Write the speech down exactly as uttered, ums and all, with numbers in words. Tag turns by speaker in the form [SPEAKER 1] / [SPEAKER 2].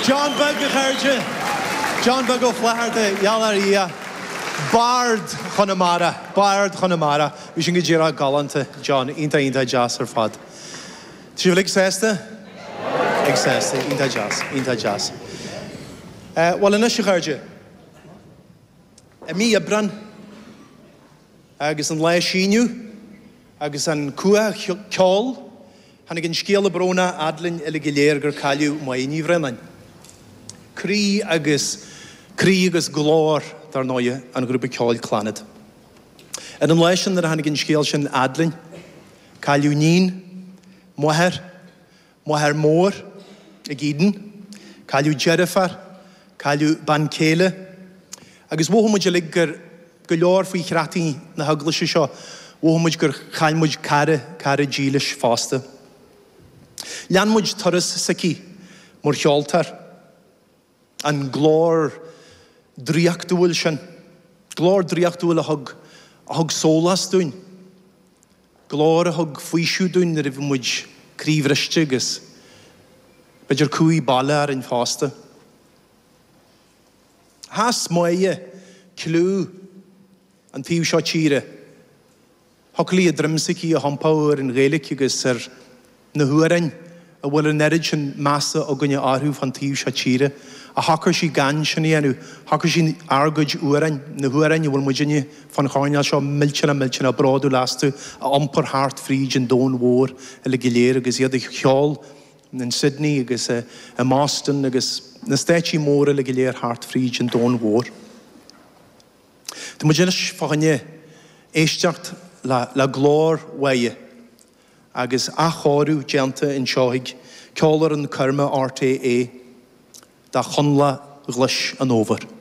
[SPEAKER 1] John Beag, a chairde. John Beag Ó Flatharta, gheall ar Dhia. Bard Chonamara, Bard Chonamara. Bhí sin go díreach galánta, John, iontach iontach deas ar fad. Tá sibh uilig sásta? Ag sásta, iontach deas, iontach deas. Bhuel anois, a chairde, i mí Aibreáin agus an lá á síneadh agus an cumha ceoil, tháinig an scéala brónach fhad linn uilig go léir gur cailleadh Máire Ní Bhraonáin. Croí agus croí agus glór, dar ndóighe, an ghrúpa ceoil Clannad. Ar an lá sin nuair a tháinig an scéal sin fhad linn, cailleadh níon, máthair, máthair mhór ag Eden, cailleadh deirfiúr, cailleadh bean chéile, agus mhothaigh muid uilig gur go leor faoi chreataí na heaglaise seo, mhothaigh muid gur chaill muid cara, cara dílis fosta. Lean muid turas s'aici mar cheoltóir. An glór draíochtúil sin. Glór draíochtúil a thug, a thug sólás dúinn. Glór a thug faoiseamh dúinn nuair a bhí muid croíbhriste agus b'fhéidir cumhaidh baile orainn fosta. Sheas Máire cliú an taobh seo tíre. Thiocfadh léi a droim s'aici a thiompú ar an Ghaeilge agus ar na hamhráin a bhfuil an oiread sin measa againne orthu fan taobh seo tíre. Ach shocair sí gan sin a dhéanamh. Shocair sí ár gcuid amhráin, na hamhráin a bhfuil muidinne fan choirnéal seo millteanach millteanach bródúil astu, a iompar thart fríd an domhan mhór uilig go léir agus iad a cheol in Sydney agus i mBoston agus na stáitsí móra uilig go léir thart fríd an domhan mhór. Tá muid anois fá choinne éisteacht le, le glór Mháire agus athchóiriú déanta anseo ag Ceolfhoireann Coirme RTÉ de Chonnla Ghlis an Fhómhair.